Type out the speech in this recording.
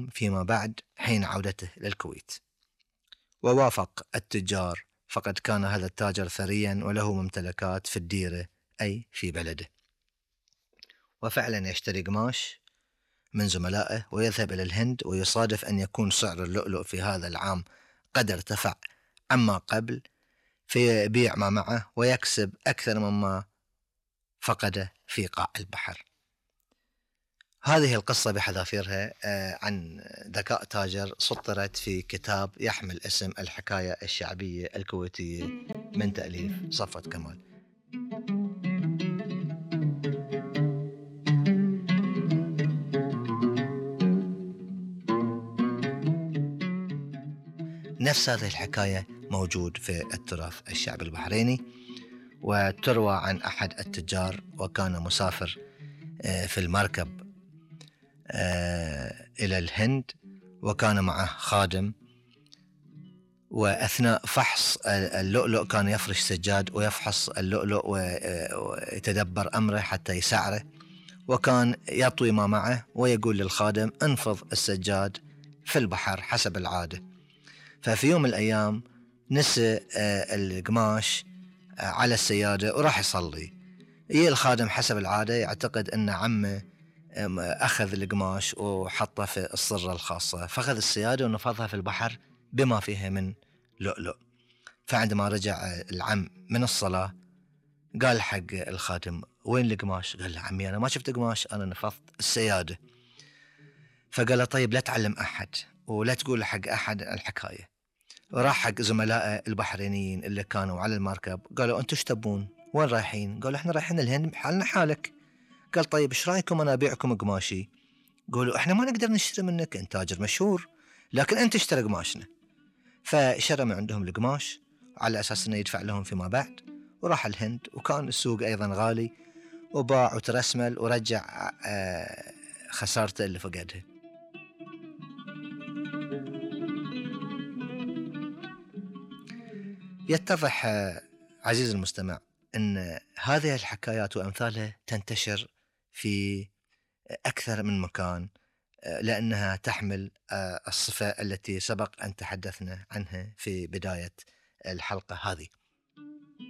اليوم فيما بعد حين عودته للكويت. ووافق التجار، فقد كان هذا التاجر ثريا وله ممتلكات في الديرة أي في بلده. وفعلا يشتري قماش من زملائه ويذهب إلى الهند، ويصادف أن يكون سعر اللؤلؤ في هذا العام قد ارتفع عما قبل، فيبيع ما معه ويكسب أكثر مما فقده في قاع البحر. هذه القصة بحذافيرها عن ذكاء تاجر سطرت في كتاب يحمل اسم الحكاية الشعبية الكويتية من تأليف صفوت كمال. نفس هذه الحكاية موجود في التراث الشعبي البحريني، وتروى عن أحد التجار وكان مسافر في المركب إلى الهند، وكان معه خادم، وأثناء فحص اللؤلؤ كان يفرش سجاد ويفحص اللؤلؤ ويتدبر أمره حتى يسعره، وكان يطوي ما معه ويقول للخادم انفض السجاد في البحر حسب العادة. ففي يوم من الأيام نسى القماش على السيادة وراح يصلي. الخادم حسب العادة يعتقد أن عمه أخذ القماش وحطه في الصرة الخاصة، فأخذ السيادة ونفضها في البحر بما فيها من لؤلؤ. فعندما رجع العم من الصلاة قال حق الخادم وين القماش؟ قال له عمي أنا ما شفت قماش، أنا نفضت السيادة. فقال له طيب لا تعلم أحد ولا تقول حق أحد الحكاية. وراح حق زملائه البحرينيين اللي كانوا على المركب، قالوا أنتوا تبون وين رايحين؟ قالوا احنا رايحين الهند حالنا حالك. قال طيب ايش رايكم انا ابيعكم قماشي؟ قالوا احنا ما نقدر نشتري منك، انت تاجر مشهور، لكن انت اشتري قماشنا. فشرى من عندهم القماش على اساس انه يدفع لهم فيما بعد، وراح الهند، وكان السوق ايضا غالي، وباع وترسمل ورجع خسارته اللي فقدها. يتضح عزيز المستمع أن هذه الحكايات وأمثالها تنتشر في أكثر من مكان، لأنها تحمل الصفة التي سبق أن تحدثنا عنها في بداية الحلقة هذه.